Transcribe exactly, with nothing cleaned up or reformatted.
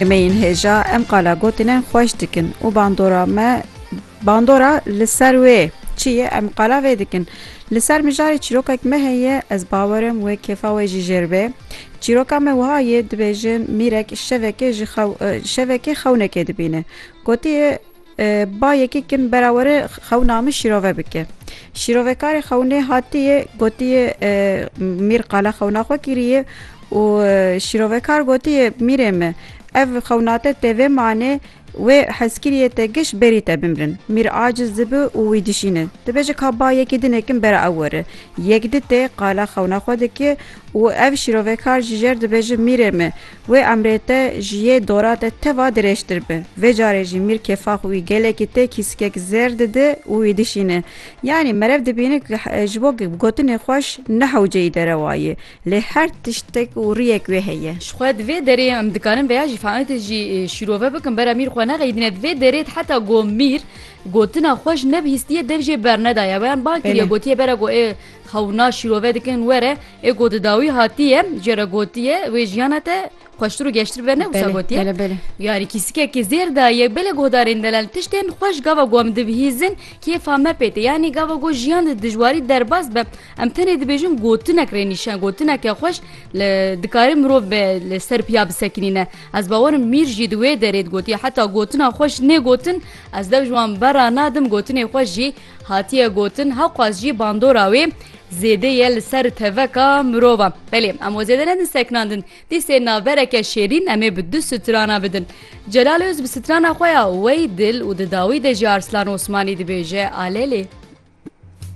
Em ên hêja, em qala gotinên xweş dikin û bandora me, bandora li ser wê çi ye, em qala vê dikin. Li ser mijarê çîrokek me heye, ez bawerim wê kêfa we jî jêr be. Çîroka me wiha ye, dibêjin mîrek şevekê ji xew-, e, şevekê xewnekê dibîne. Gotiye, e, ba yekê kin bera were xewna min şîrove bike. Şîrovekarê xewnê hatiye, gotiye, e, mîr qala xewna xwe kiriye û, e, şîrovekar gotiye, mîrê min, ev xewna te tê vê manê, wê hezkiriyê te giş berî te bimrin. Mîr aciz dibe û wî dişîne. Dibêje ka ba yekê din kin bera ew were. Yek di tê qala xewna xwe dike û ev şîrovekar jî jêr dibêje, mîrê min, wê emrê te ji yê dora te teva dirêjtir be. Vê carê jî mîr kêfa xwe wî gelekî tê, kîsikek zêr dide û wî dişîne. Yanî merev dibîne ku he-, ji bo gotinê xweş ne hewceyî derewa ye. Lê her tiştek û riyek wê heye. Ji xwe di vê derê em dikarin veya jî fealiyetê jî, e, şîrove bikin, bera mîr xwe nexeyidîne. Di vê derê heta ku mîr gotina xweş nebihîstiye, dev jê bernedaye. Weyan ban kiriye, Belê. Gotiye bera ku ê xewna şîrove dikin were, ê ku di dawî hatiye, jê re gotiye, wê jiyana te xweştir û geştir be, ne wisa Belê, gotiye? Belê, belê. Yanî kîsikekê zêr daye, belê guhdarên delal, tiştên xweş gava ku em dibihîzin, kêfa me pê tê. Yanî gava ku jiyan di dijwarî derbas be, em tenê dibêjin gotinek rê nîşan, gotineke xweş li, dikare mirov be li ser piya bisekinîne. Ez bawerim mîr jî di wê derê digotiye, heta gotina xweş nê gotin, ez dev ji wan bera nadim, gotinê xweş jî hatiye gotin, hewqas jî bandora wê zêde ye li ser teveka mirova. Belê, em we zêde nedin sekinandin. Dîsê navbereke şêrîn em ê bi du strana bidin. Celal Öz bi strana xwe ya Wey Dil û di dawî de jî Arslan Osmanî dibêje, Alelê.